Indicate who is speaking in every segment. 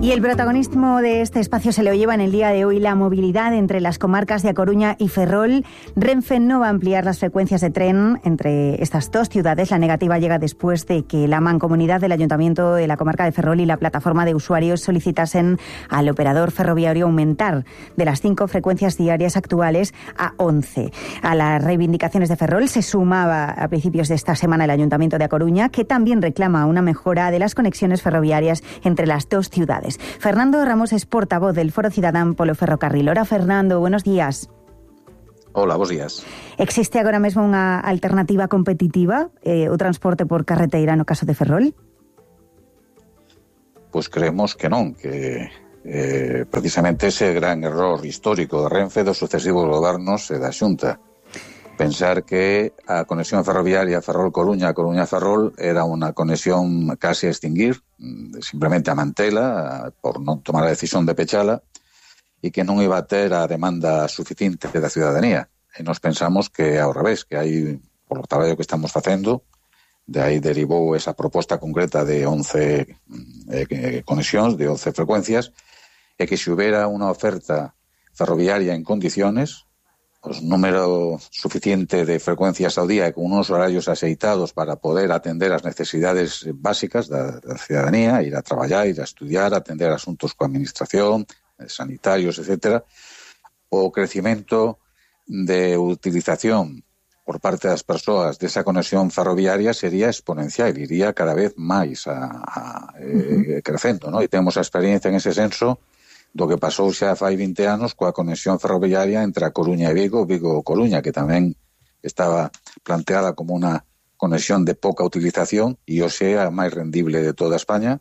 Speaker 1: Y el protagonismo de este espacio se lo lleva en el día de hoy la movilidad entre las comarcas de A Coruña y Ferrol. Renfe no va a ampliar las frecuencias de tren entre estas dos ciudades. La negativa llega después de que la mancomunidad del Ayuntamiento de la comarca de Ferrol y la plataforma de usuarios solicitasen al operador ferroviario aumentar de las 5 frecuencias diarias actuales a 11. A las reivindicaciones de Ferrol se sumaba a principios de esta semana el Ayuntamiento de A Coruña, que también reclama una mejora de las conexiones ferroviarias entre las dos ciudades. Fernando Ramos es portavoz del Foro Cidadán polo Ferrocarril. Hola, Fernando, buenos días.
Speaker 2: Hola, bos días.
Speaker 1: Existe agora mesmo unha alternativa competitiva, o transporte por carreteira no caso de Ferrol?
Speaker 2: Pois creemos que non, que precisamente ese gran error histórico de Renfe dos sucesivos gobernos e da Xunta. Pensar que a conexión ferroviaria Ferrol-Coruña, Coruña-Ferrol era unha conexión casi a extinguir, simplemente a mantela, por non tomar a decisión de pechala, e que non iba a ter a demanda suficiente da ciudadanía. E nos pensamos que ao revés, que hai, por o traballo que estamos facendo, de aí derivou esa proposta concreta de 11 conexións, de 11 frecuencias, e que se houbera unha oferta ferroviaria en condiciones, pues número suficiente de frecuencias ao día e con unos horarios axeitados para poder atender as necesidades básicas da ciudadanía, ir a traballar, ir a estudiar, atender asuntos coa administración, sanitarios, etcétera, o crecimento de utilización por parte das persoas desa conexión ferroviaria sería exponencial, iría cada vez máis crecendo, ¿no? E temos a experiencia en ese senso do que pasou xa fai 20 anos coa conexión ferroviaria entre A Coruña e Vigo, Vigo-Coruña, que tamén estaba planteada como unha conexión de pouca utilización e hoxe é a máis rendible de toda España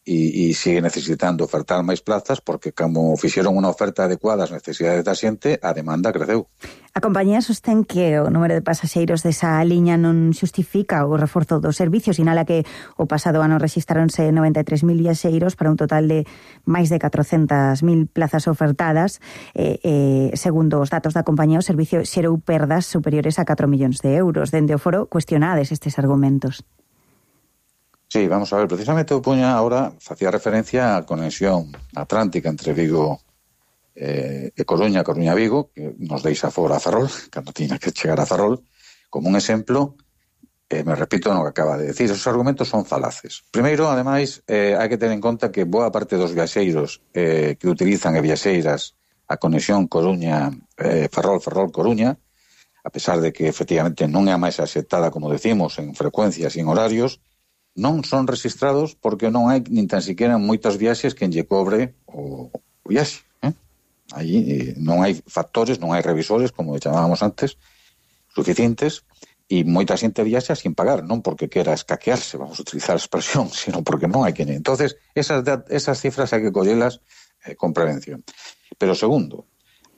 Speaker 2: e sigue necesitando ofertar máis plazas porque como fixeron unha oferta adecuada ás necesidades da xente, a demanda creceu.
Speaker 1: A compañía sostén que o número de pasaxeiros desa liña non xustifica o reforzo do servicio, sinala que o pasado ano rexistráronse 93.000 viaxeiros para un total de máis de 400.000 plazas ofertadas. Segundo os datos da compañía, o servicio xerou perdas superiores a 4 millóns de euros. Dende o foro cuestionades estes argumentos.
Speaker 2: Sí, vamos a ver, precisamente o puña ahora facía referencia á conexión atlántica entre Vigo e Coruña, Coruña-Vigo, que nos deixa fora a Ferrol, cando tiña que chegar a Ferrol, como un exemplo, me repito no que acaba de decir, esos argumentos son falaces. Primeiro, ademais, hai que ter en conta que boa parte dos viaxeiros que utilizan e viaxeiras a conexión Coruña-Ferrol, Ferrol-Coruña, a pesar de que efectivamente non é a máis aceptada, como decimos, en frecuencias e en horarios, non son registrados porque non hai nin tan siquiera moitas viaxes que lle cobre o viaxe. Aí non hai factores, non hai revisores, como chamábamos antes, suficientes, e moita xente viaxa sin pagar, non porque quera escaquearse, vamos a utilizar a expresión, sino porque non hai que... Entonces, esas cifras hai que collelas con prevención. Pero segundo,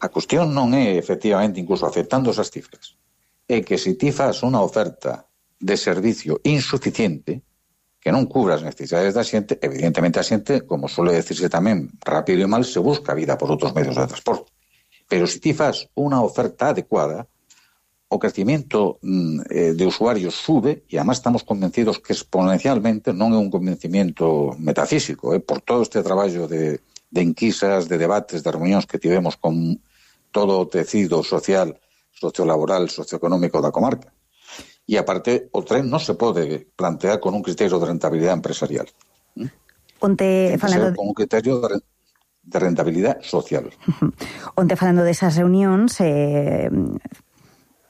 Speaker 2: a cuestión non é, efectivamente, incluso aceptando esas cifras, é que se ti fas unha oferta de servicio insuficiente, que non cubra as necesidades da xente, evidentemente a xente, como suele decirse tamén, rápido e mal, se busca vida por outros medios de transporte. Pero se ti fas unha oferta adecuada, o crecimiento de usuarios sube, e además estamos convencidos que exponencialmente non é un convencimiento metafísico, por todo este traballo de enquisas, de debates, de reunións que tivemos con todo o tecido social, sociolaboral, socioeconómico da comarca. E aparte, o tren non se pode plantear con un criterio de rentabilidade empresarial.
Speaker 1: Onte falando
Speaker 2: con un criterio de rentabilidade social.
Speaker 1: Onte falando desas reunións,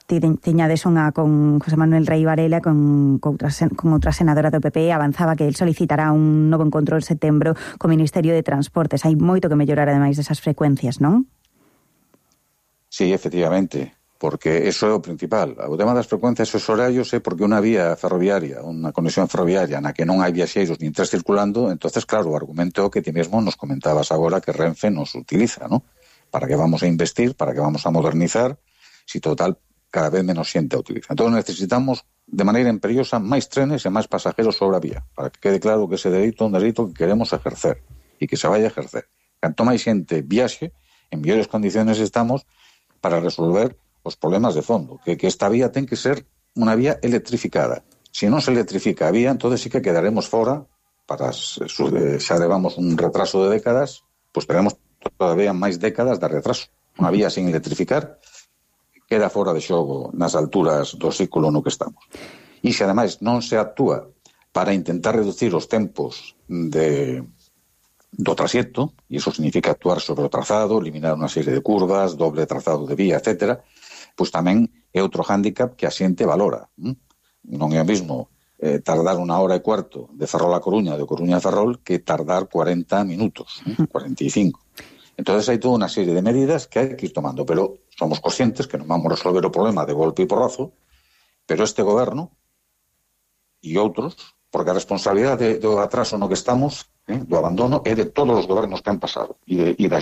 Speaker 1: tiñades unha con José Manuel Rei Varela, con outra senadora do PP, avanzaba que el solicitará un novo encontro en setembro co Ministerio de Transportes. Hai moito que mellorar ademais desas frecuencias, non?
Speaker 2: Sí, efectivamente, porque eso é o principal. O tema das frecuencias e os horarios é porque unha vía ferroviaria, unha conexión ferroviaria na que non hai viaxeiros nin tres circulando, entonces claro, o argumento que ti mesmo nos comentabas agora que Renfe nos utiliza, ¿no? Para que vamos a investir, para que vamos a modernizar, si total cada vez menos xente a utiliza. Entón necesitamos de maneira imperiosa máis trenes e máis pasajeros sobre a vía, para que quede claro que ese dereito é un dereito que queremos ejercer e que se vai a ejercer. Canto máis xente viaxe, en mellores condiciones estamos para resolver os problemas de fondo, que esta vía ten que ser unha vía electrificada. Se non se electrifica a vía, entonces sí que quedaremos fora xa levamos un retraso de décadas, pois teremos todavía máis décadas de retraso. Unha vía sin electrificar queda fora de xogo nas alturas do século no que estamos. E se ademais non se actúa para intentar reducir os tempos do traxecto, e iso significa actuar sobre o trazado, eliminar unha serie de curvas, doble trazado de vía, etc., pois tamén é outro hándicap que a xente valora. Non é o mismo tardar 1 hora e cuarto de Ferrol a Coruña, de Coruña a Ferrol, que tardar 40 minutos, 45. Entonces hai toda unha serie de medidas que hai que ir tomando, pero somos conscientes que non vamos resolver o problema de golpe e porrazo, pero este goberno e outros, porque a responsabilidade do atraso no que estamos, do abandono, é de todos os gobernos que han pasado e da